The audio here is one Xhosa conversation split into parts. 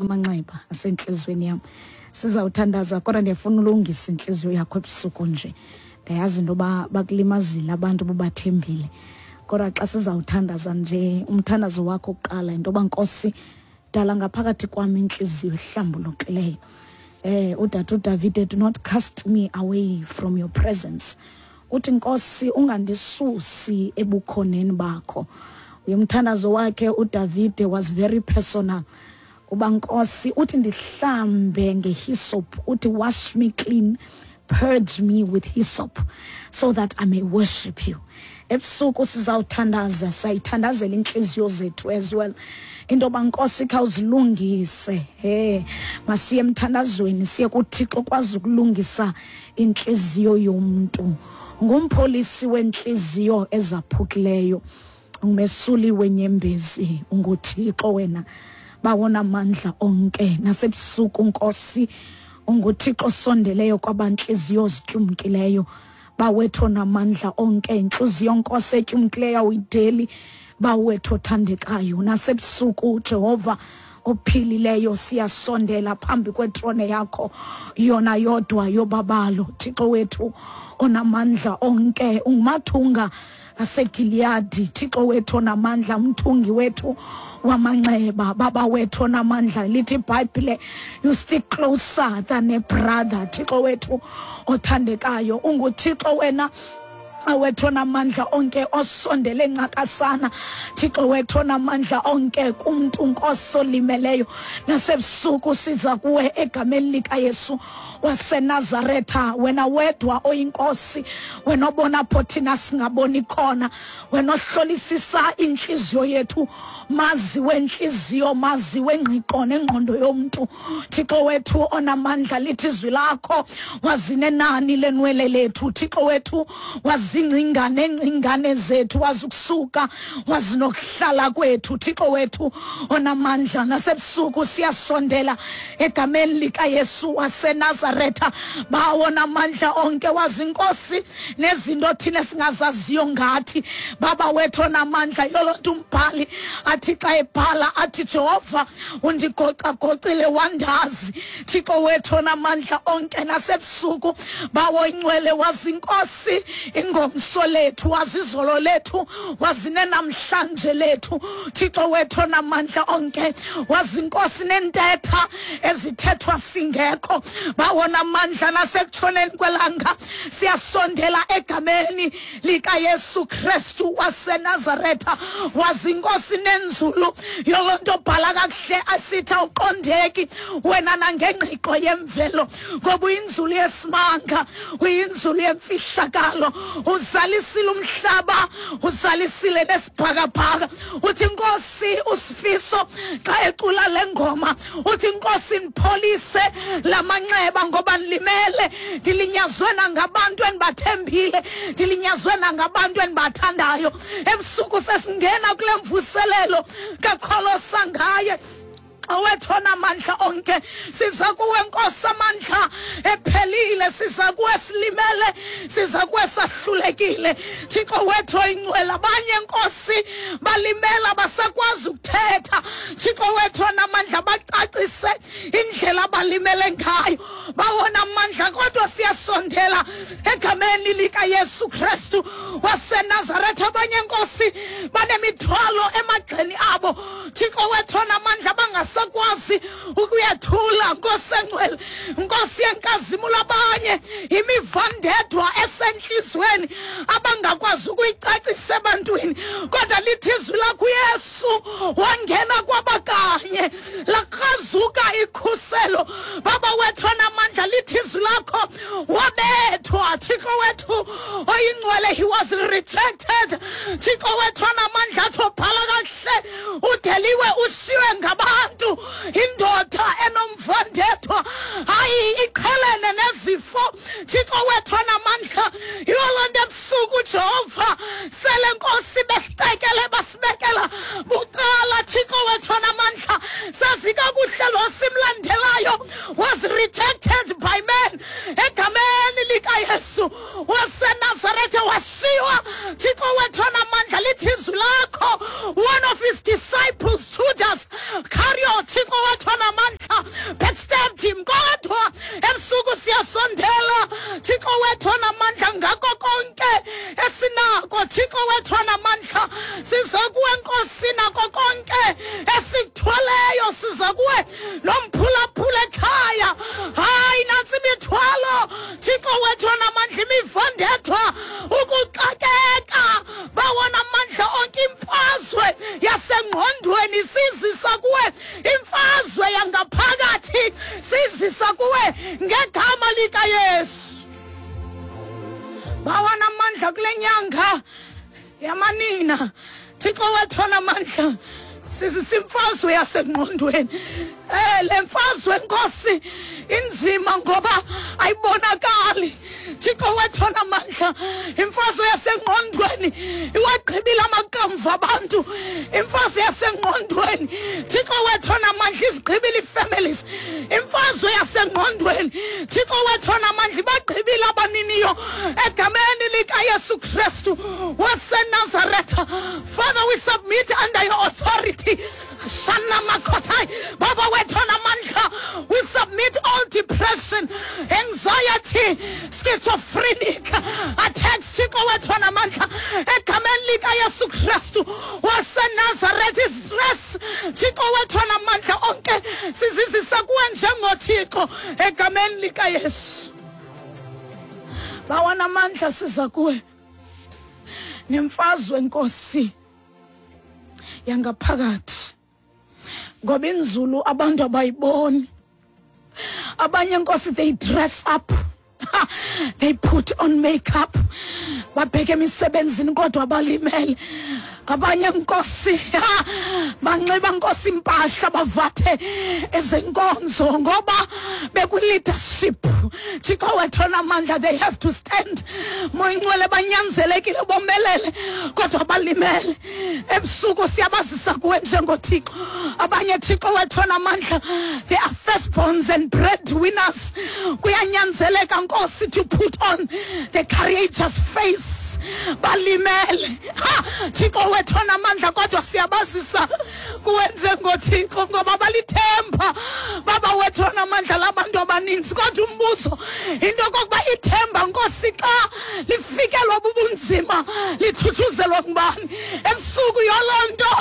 Amanxeba asentliziyweni yam. Sizawuthandaza, kodwa ndiyafuna ulungisa intliziyo yakho ebusuku nje. Ndiyayazi into yoba bakulimazile abantu bobathembile, kodwa xa sizawuthandaza nje, umthandazo wakho kuqala into yoba, Nkosi, dala ngaphakathi kwam intliziyo ehlambulukileyo. Udade uDavide, "Do not cast me away from your presence." Uthi, "Nkosi, ungandisusi ebukhoneni bakho." Umthandazo wakhe uDavide was very personal, uba, Nkosi, uthi ndihlambe ngehyssop, uthi, "Wash me clean, purge me with hyssop, so that I may worship you." Ebusuku sizawuthandaza, sayithandazela intliziyo zethu as well, into yoba, Nkosi, khawuzilungise. He, masiye emthandazweni, siye kuThixo kwazi ukulungisa intliziyo yomntu. Ngumpholisi wentliziyo ezaphukileyo, umesuli wenyembezi, unguThixo wena bawona mandla onke. Nasebusuku, Nkosi, unguThixo osondeleyo kwabantliziyo zityumkileyo. Bawethu namandla onke, intliziyo, Nkosi, etyumkileyo awuyideli, bawethu othandekayo. Nasebusuku, Jehova ophilileyo, siyasondela phambi kwetrone yakho yona yodwa yobabalo. Thixo wethu onamandla onke, ungumathunga aseGiliyadi. Thixo wethu onamandla, umthungi wethu wamanxeba, baba wethu onamandla, lithi iBhayibhile, "You stick closer than a brother." Thixo wethu othandekayo, unguThixo wena wethu onamandla onke osondele ncakasana, Thixo wethu onamandla onke, kumntu, Nkosi, olimeleyo. Nasebusuku siza kuwe egameni likaYesu waseNazaretha, wena wedwa oyinkosi, wena obona pho thina singaboni khona, wena ohlolisisa intliziyo yethu, mazi wentliziyo, mazi wengqiqo nengqondo yomntu. Thixo wethu onamandla, lithi izwi lakho wazinenani lenwele lethu. Thixo wethu, wazingcinga nengcingane zethu, wazi ukusuka, wazi nokuhlala kwethu. Thixo wethu onamandla, nasebusuku siyasondela egameni likaYesu waseNazaretha. Bawo namandla onke, wazi, Nkosi, nezinto thina singazaziyo ngathi. Baba wethu onamandla, yolo nto umbhali athi xa ebhala athi, "Jehova, undigocagocile wandazi." Thixo wethu onamandla onke, nasebusuku, bawo ingcwele, wazi, Nkosi, ingomso lethu, wazi izolo lethu, wazi nenamhlanje lethu. Thixo wethu onamandla onke, wazi, Nkosi, nentetha ezithethwa singekho. Bawona amandla, nasekutshoneni kwelanga siyasondela egameni likaYesu Kristu waseNazaretha. Wazi, Nkosi, nenzulu yolo nto bhala kakuhle asithi awuqondeki wena nangengqiqo yemvelo, ngoba uyinzulu yesimanga, uyinzulu yemfihlakalo. Uzalisile umhlaba, uzalisile nesibhakabhaka. Uthi, Nkosi, uSifiso xa ecula le ngoma uthi, "Nkosi, ndipholise lamanxeba, ngoba ndilimele, ndilinyazwe nangabantu endibathembile, ndilinyazwe nangabantu endibathandayo." Ebusuku sesingena kule mvuselelo kakholosa ngaye owethu onamandla onke. Siza kuwe, Nkosi, amandla ephelile. Siza kuwe silimele, siza kuwe sahlulekile, Thixo wethu oyingcwele. Abanye, Nkosi, balimela basakwazi ukuthetha, Thixo wethu onamandla, bacacise indlela abalimele ngayo, bawona amandla. Kodwa siyasondela egameni likaYesu Kristu waseNazaretha. Abanye, Nkosi, banemithwalo emagxeni abo, Thixo wethu onamandla, bangasakwazi ukuyethula, Nkosi engcwele, Nkosi yenkazimulo. Abanye imivandedwa esentliziyweni abangakwazi ukuyicacisa ebantwini, kodwa lithi izwi lakho, uYesu wangena kwabakanye, lakrazuka ikhuselo. Baba wethu onamandla, lithi izwi lakho wabethwa, Thixo wethu oyingcwele. He was rejected, Thixo wethu onamandla. Athi obhala kakuhle, udeliwe, ushiywe ngabantu, indoda enomvandedwa, hayi, iqhelene nezifo, Thixo wethu onamandla. Yiyo loo nto ebusuku, Jehova, sele, Nkosi, besicekele, basibekela bucala, Thixo wethu onamandla. Sazi kakuhle lo simlandelayo was rejected by men. Egameni likaYesu waseNazaretha, washiywa, Thixo wethu onamandla. Lithi izwi lakho, one of his disciples, Judas Iscariot, Thixo wethu onamandla. kuwe nomphulaphula ekhaya. Hayi, nantsi imithwalo, Thixo wethu onamandla, imivandethwa, ukuxakeka, bawona amandla onke, imfazwe yasengqondweni sizisa kuwe, imfazwe yangaphakathi sizisa kuwe ngegama likaYesu. Bawana amandla kule nyanga yamanina, Thixo wethu onamandla, sizisa imfazwe yasengqondweni. Le mfazwe, Nkosi, inzima ngoba ayibonakali. Thixo wethu onamandla, imfazwe yasengqondweni iwagqibile amakamva abantu. Imfazwe yasengqondweni, Thixo wethu onamandla, izigqibile ii-families. Imfazwe yasengqondweni, Thixo wethu onamandla, ibagqibile abaniniyo egameni likaYesu Kristu waseNazaretha. Father, we submit under your authority. Shana makotai, Baba wethu onamandla, we submit all depression, anxiety, schizophrenic attacks. Thixo wethu onamandla, egameni likaYesu Kristu waseNazaretha, stress, Thixo wethu onamandla onke, sizizisa kuwe njengoThixo egameni likaYesu. Bawanamandla, siza kuwe nemfazwe, Nkosi, yangaphakathi, ngoba inzulu abantu abayiboni. Abanye, Nkosi, they dress up, they put on makeup, babheke emisebenzini, kodwa balimele. Abanye, Nkosi, banxiba, Nkosi, impahla, bavathe ezenkonzo ngoba bekwi-leadership. Thixo wethu onamandla, they have to stand, Moyingcwele, banyanzelekile bomelele, kodwa balimele. Ebusuku siyabazisa kuwe njengoThixo. Abanye, Thixo wethu onamandla, they are firstborns and breadwinners. Kuyanyanzeleka, Nkosi, to put on the courageous face, balimele. Ha, Thixo wethu onamandla, kodwa siyabazisa kuwe njengoThixo ngoba balithemba, Baba wethu onamandla, labantu abaninzi. Kodwa umbuzo into yokokuba ithemba, Nkosi, xa lifikelwa bubunzima, lithuthuzelwa ngubani ebusuku? Yoloo nto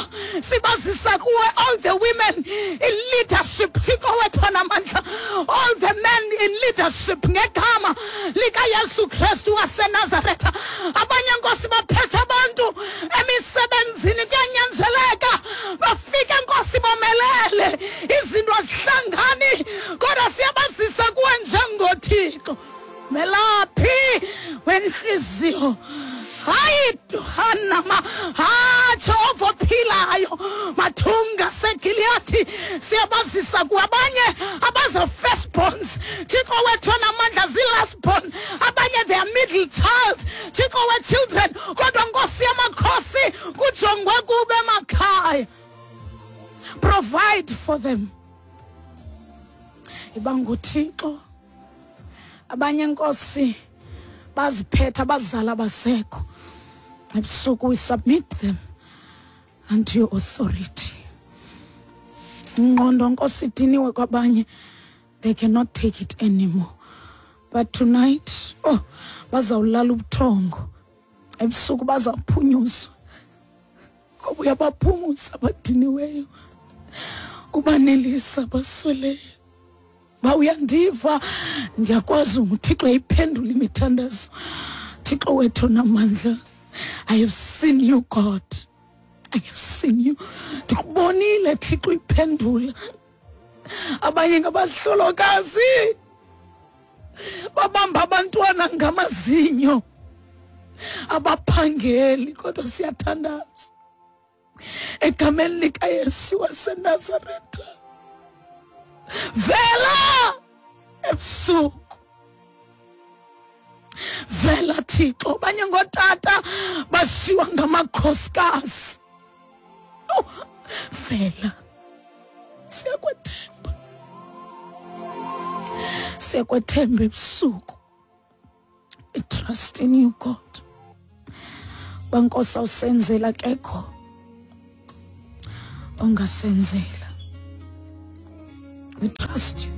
sibazisa kuwe all the women in leadership, Thixo wethu onamandla, all the men in leadership, ngegama likaYesu Kristu waseNazaretha. Abanye, Nkosi, baphethe abantu emisebenzini, kuyanyanzeleka bafike, Nkosi, bomelele, izinto azihlangani, kodwa siyabazisa kuwe njengoThixo melaphi wenhliziyo. Hayi, hanama ha, Jehova ophilayo, mathunga seGiliyathi, siyabazisa kuwe. Abanye abazo firstborns, Thixo wethu onamandla, zii-lastborn. Abanye they are middle child, Thixo we-children, kodwa Nkosi yamakhosi, kujongwe kube emakhaya. Provide for them, iba nguThixo. Abanye, Nkosi, baziphethe abazali abasekho. Ebusuku we submit them unto your authority. Ingqondo, Nkosi, idiniwe kwabanye, they cannot take it anymore. But tonight, oh, bazawulala ubuthongo ebusuku, bazawuphunyuzwa ngoba uyabaphumuza abadiniweyo, ubanelisa abasweleyo. Ba uyandiva, ndiyakwazi nguThixo iphendula imithandazo. Thixo wethu namandla, I have seen you, God, I have seen you. Ndikubonile, Thixo, iphendula. Abanye ngabahlolokazi, babamba abantwana ngamazinyo, abaphangeli, kodwa siyathandaza egameni likaYesu waseNazaretha. Vela ebusuku, vela, Thixo. Abanye ngootata bashiywa ngamakhosikazi. Oh, vela, siyakwethemba, siyakwethemba ebusuku. I trust in you, God. Bankosi, awusenzela, kekho ongasenzela. We trust you.